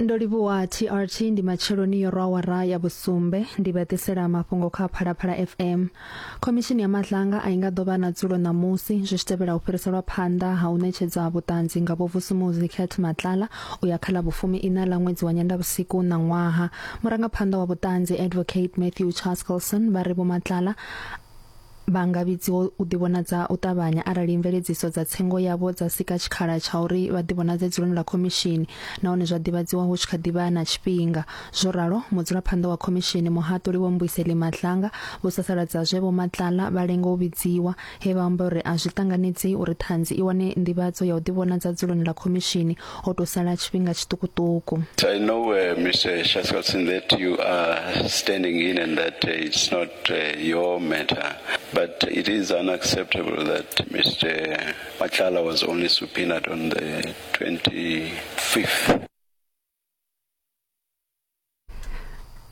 Ndo livhuwa TRT ndi matsheloni yo rwa awara ya vhusumbe ndi vha ḓisela mafhungo kha Phalaphala FM. Khomishini ya Madlanga a i nga ḓo vha na dzulo ṋamusi zwi tshi tevhela u fhiriselwa phanḓa ha u ṋetshedza vhuṱanzi nga Vho Vusumuzi Cat Matlala u ya kha ḽa vhufumi iṋa ḽa ṅwedzi wa Nyendavhusiku ṋaṅwaha. Murangaphanḓa wa vhuṱanzi Advocate Matthew Chaskalson vha ri Vho Matlala Vha nga vhidziwa u ḓivhonadza u ṱavhanya arali mveledziso dza tsengo yavho dza sika tshikhala tsha uri vha ḓivhonadze dzuloni ḽa khomishini nahone zwa ḓivhadziwa hu tshi kha ḓi vha na tshifhinga. Zwo ralo, mudzulaphanḓa wa khomishini, Muhaṱuli Vho Mbuyiseli Madlanga, vho sasaladza zwe Vho Matlala vha lenga u vhidziwa, he vha amba uri a zwi ṱanganedzei uri ṱhanzi i wane nḓivhadzo ya u ḓivhonadza dzuloni ḽa khomishini ho tou sala tshifhinga tshiṱukuṱuku. I know, uh, Mr. Shaskatsin, that you are standing in and that uh, it's not uh, your matter, but it is unacceptable that Mr. Matlala was only subpoenaed on the 25th.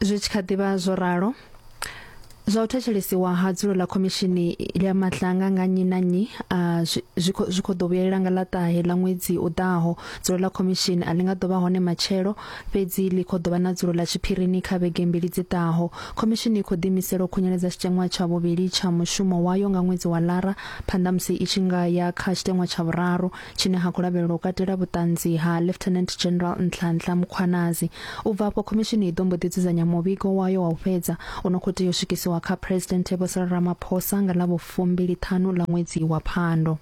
Zwi tshi kha ḓi vha zwo ralo, zwa u thetshelesiwa ha dzulo ḽa khomishini ya Madlanga nga nnyi na nnyi a zwi khou ḓo vhuyelela nga ḽa ṱahe ḽa ṅwedzi u ḓaho. Dzulo ḽa khomishini a ḽi nga ḓo vha hone matshelo, fhedzi ḽi khou ḓo vha na dzulo ḽa tshiphirini kha vhege mbili dzi ḓaho. Khomishini i khou ḓiimisela u khunyeledza tshiteṅwa tsha vhuvhili tsha mushumo wayo nga ṅwedzi wa Lara phanḓa musi i tshi nga ya kha tshiteṅwa tsha vhuraru tshine ha khou lavhelelwa u katela vhuṱanzi ha Lieutenant General Nhlanhla Mkhwanazi. U bva afho khomishini i ḓo mbo ḓi dzudzanya muvhigo wayo wa u fhedza u no khou tea u swikisiwa kha Phresidennde Vho Cyril Ramaphosa nga ḽa vhufumbili-ṱhanu ḽa ṅwedzi wa Phando.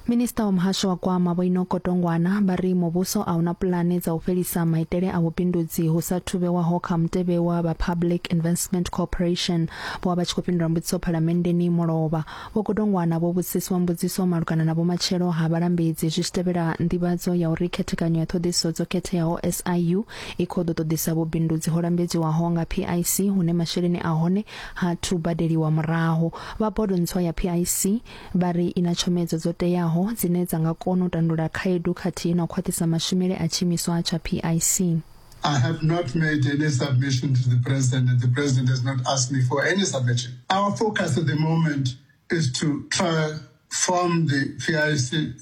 Minisiṱa wa muhasho wa Gwama Vho Enoch Godongwana vha ri muvhuso a una pulane dza u fhelisa maitele a vhubindudzi hu sa thu vhewaho kha mutevhe wa vha Public Investment Corporation. Vho vha vha tshi khou fhindula mbudziso phalamenndeni mulovha. Vho Godongwana vho vhudziswa mbudziso malugana na vhumatshelo ha vhalambedzi zwi tshi tevhela nḓivhadzo ya uri khethekanyo ya ṱhoḓisiso dzo khetheaho SIU i khou ḓo ṱoḓisa vhubindudzi ho lambedziwaho nga PIC hune masheleni a hone ha thu badeliwa murahu. Vha bodo ntswa ya PIC vha ri i na tshomedzo dzo teaho dzine dza nga kona u tandulula khaedu khathihi na u khwaṱhisa mashumele a tshiimiswa tsha PIC. I have not made any submission to the president, and the president has not asked me for any submission. Our focus at the moment is to try form the PIC,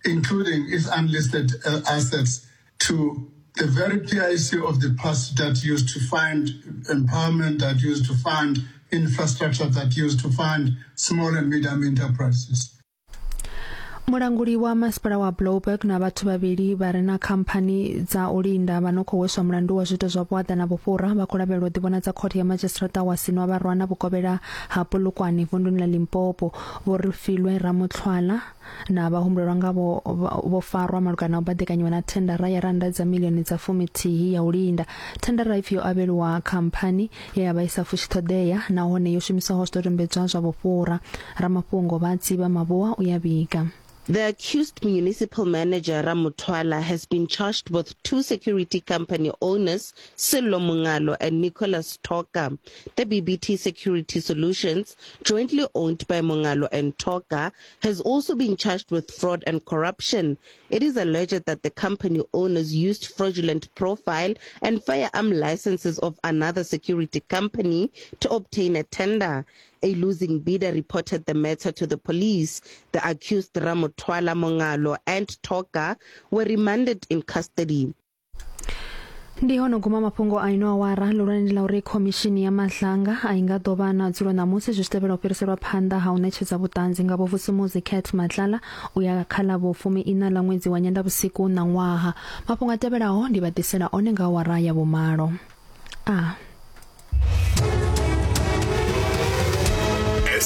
including its unlisted uh, assets, to the very PIC of the past that used to fund empowerment, that used to fund infrastructure, that used to fund small and medium enterprises. Mulanguli wa masipala wa Blouberg na vhathu vhavhili vha re na khamphani dza u linda vha no khou hweswa mulandu wa zwiito zwa vhuaḓa na vhufhura vha khou lavhelelwa u ḓivhonadza khothe ya madzhisiṱiraṱa wa Sinwavharwana vhukovhela ha Polokwane vunduni ḽa Limpopo. Vho Refilwe Ramutlhwala na vhahumbulelwa ngavho vho farwa malugana na u baḓekanyiwa na thendara ya rannda dza miḽioni dza fumithihi ya u linda. Thendara ipfi yo avhelwa khamphani ye ya vha i sa fushi ṱhoḓea nahone yo shumiswaho zwidodombedzwa zwa vhufhura. Ramafhungo vha Tsivha Mavhua u ya vhiga. The accused municipal manager Ramutwala has been charged with two security company owners, Sello Mungalo and Nicholas Toka. The BBT Security Solutions, jointly owned by Mungalo and Toka, has also been charged with fraud and corruption. It is alleged that the company owners used fraudulent profile and firearm licenses of another security company to obtain a tender. A losing bidder reported the matter to the police. The accused Ramotwala Mongalo and Toka were remanded in custody. Ndi hone guma mafhungo a ino awara ḽihulwane ndi ḽa uri khomishini ya Madlanga a i nga ḓo vha na dzulo ṋamusi zwi tshi tevhela u fhiriselwa phanḓa ha u ṋetshedza vhuṱanzi nga Vho-Vusumuzi Cat Matlala u ya kha ḽa vhufumi-iṋa ḽa ṅwedzi wa Nyendavhusiku ṋaṅwaha. Mafhungo a tevhelaho ndi vha ḓisela one nga awara ya vhumalo. A.